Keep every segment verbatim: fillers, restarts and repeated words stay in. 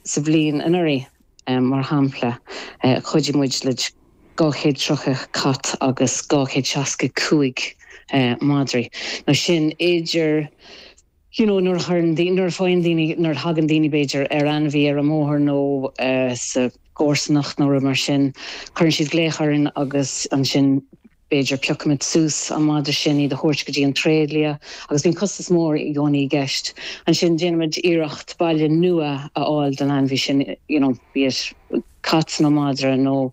Sa bhliain anuraidh, mar shampla, chuidigh muid le dhá chéad tríocha cat agus dhá chéad seasca cúig madraí. Nó sin idir you know, nuair a chuireann nuair a faigheann daoine nuair a thagann daoine b'fhéidir ar ainmhí ar an mbóthar nó sa gcomharsanacht nó rud mar sin, cuireann siad glaoch orainn agus ansin b'fhéidir piocaimid suas an madra sin iad a thabhairt go dtí an tréidlia agus bíonn costas mór i gcónaí i gceist. Ansin déanaimid iarracht baile nua a fháil don ainmhí sin, you know, bíodh cat nó madra nó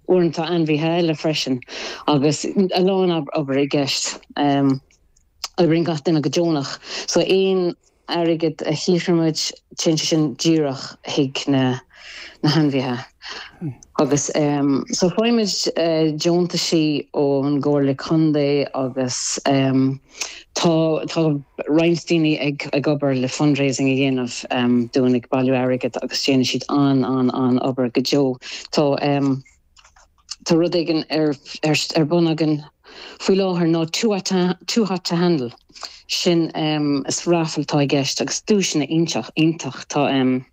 uaireanta ainmhithe eile freisin agus a lán obair i gceist. Um, Oibríonn gach duine go deonach, so aon airgead a shaothraímid, téann sé sin díreach chuig na na hainmhithe. Agus um, so faighimid uh, deontaisí ón gComhairle Contae agus um, tá tá roinnt daoine ag ag obair le fundraising a dhéanamh um, dúinn ag bailiú airgead agus déanann siad an an an obair go deo. Tá um, Tá rud éigin ar ar ar bun againn faoi láthair ná Too Hot to, Too Hot to Handle. Sin um, is raffle atá i gceist agus duaiseanna iontach iontach tá um,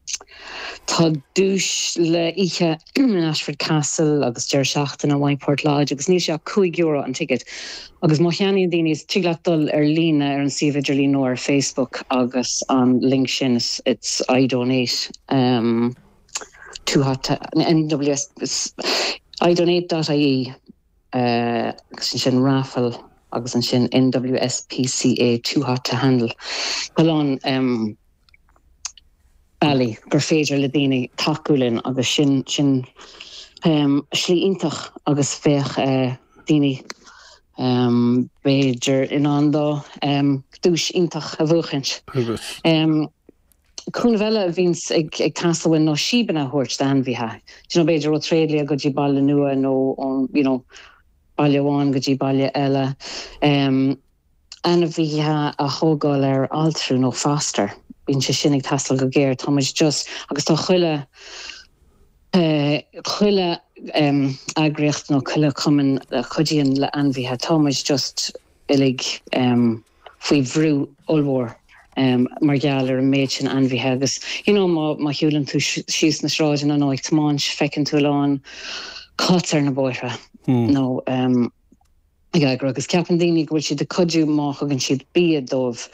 tá duais le oíche in Ashford Castle agus deireadh seachtaine Whiteport Lodge agus níl sé ach cúig euro an ticket. Agus má cheannaíonn daoine is tig leat dul ar líne ar an suíomh idirlín nó ar Facebook agus an link sin is it's I donate um, too hot to, N W S idonate dot I E uh, agus ansin raffle agus ansin N W S P C A Too Hot to Handle. Tá um, bealaí gur féidir le daoine tacú linn agus sin sin um, slí iontach agus bheadh uh, daoine um, b'fhéidir in ann dó um, duais iontach a bhuachaint. Um, Cúnamh eile a bhíonns ag ag teastáil nó síobanna a thabhairt d'ainmhithe. You know, b'fhéidir ó tréidlia go dtí baile nua nó ón you know, baile amháin go dtí baile eile. Um, ainmhithe a thógáil ar altrú nó foster. Bíonn sé sin ag teastáil go géar tá just agus tá chuile uh, chuile um, eagraíocht nó chuile cumann a chuidíonn le ainmhithe tá just uilig um, faoi bhrú ollmhór um, mar gheall ar an méid sin ainmhithe agus you know, má má shiúlann tú síos na sráideanna nó ag tiomáint feiceann tú lán cat ar na bóithre hmm. nó um, ag agus ceapann daoine go bhfuil siad ag cuidiú má thugann siad bia dóibh.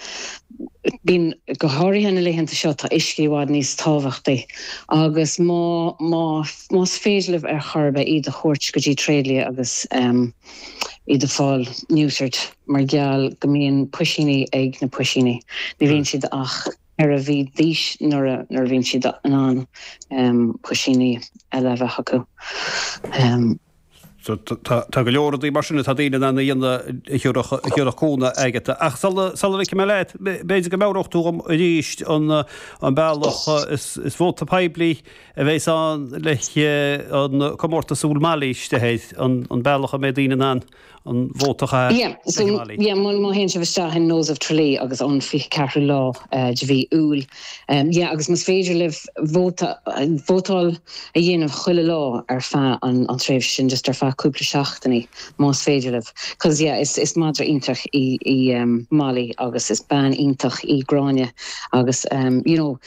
Bíonn go háirithe na laethanta seo tá uisce i bhfad níos tábhachtaí agus má má más féidir libh ar chor ar bith iad a thabhairt go dtí tréidlia agus um, iad a fáil neutered mar gheall go mbíonn puisíní ag na puisíní. Ní bhíonn siad ach ar a bhí d'aois nuair nuair bhíonn siad in ann um, puisíní eile a bheith acu. Um, So tá go leor rudaí mar sin atá daoine in ann a dhéanamh a cúnamh agat. Ach sula ligfidh mé leat, b'fhéidir go mbeadh tú arís an an bealach is is vóta poiblí a bheas ann le an comórtas úll Molly isteach an an bealach a mbeidh daoine in ann an vóta a Yeah, so yeah, má théann sibh isteach in Nose of Tralee agus an fiche ceathrú lá uh, de mhí Iúil. Um, yeah, agus más féidir libh vóta vótáil a dhéanamh chuile lá ar feadh an, an tréimhse sin just ar feadh cúpla seachtainí más féidir libh. Cos yeah, is, is madra iontach í, í um, Molly agus is bean iontach í Gráinne agus um, you know,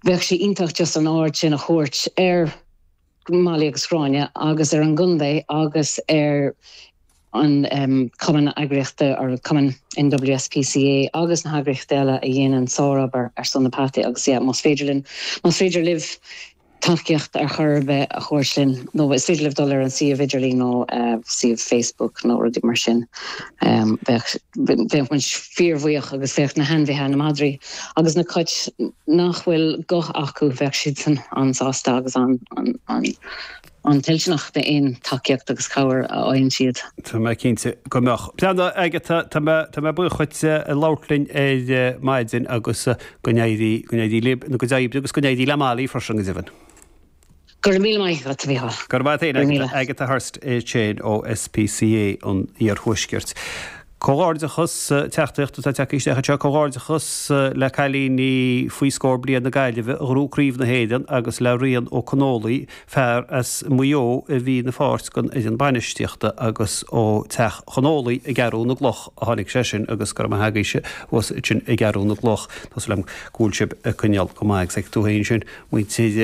bheadh sé iontach just an aird sin a thabhairt ar Molly agus Gráinne agus ar an gcontae agus ar an um, cumann eagraíochta ar cumann N W S P C A agus na heagraíochtaí eile a dhéanann sárobair ar son na peataí agus yeah, más féidir linn más féidir libh tacaíocht ar chor ar bith a thabhairt linn nó is féidir libh dul ar an suíomh idirlín nó uh, suíomh Facebook nó rudaí mar sin um, bheadh bheadh muid fíorbhuíoch agus bheadh na hainmhithe na madraí agus na cait nach bhfuil guth acu bheadh siad san an-sásta agus an, an, an, an tuillteanach d'aon tacaíocht agus cabhair a fhaigheann siad. Tá mé cinnte go mbeadh. Plean agat tá mé buíoch as labhairt linn ar maidin agus go n-éirí go n-éirí libh nó go n-éirí agus go n-éirí le Molly freisin go deimhin. Gur mí maith a bhí. Gur maith Agatha Hurst é ó S P C A an Iarthuaiscirt. Comhghairdeachas teachtaireacht atá tagtha isteach seo comhghairdeachas le cailíní faoi scór bliain na Gaillimhe a ghnóthaigh Craobh na hÉireann agus le Rian Ó Conólaí fear as Maigh Eo a bhí ina pháirt den fhoireann bainistíochta agus ó Teach Chonólaí i gCeathrú na gCloch a tháinig sé sin agus gur maith agaibhse sin i gCeathrú na gCloch Tá súil agam go bhfuil sibh ag coinneáil go maith ag tú féin sin muintir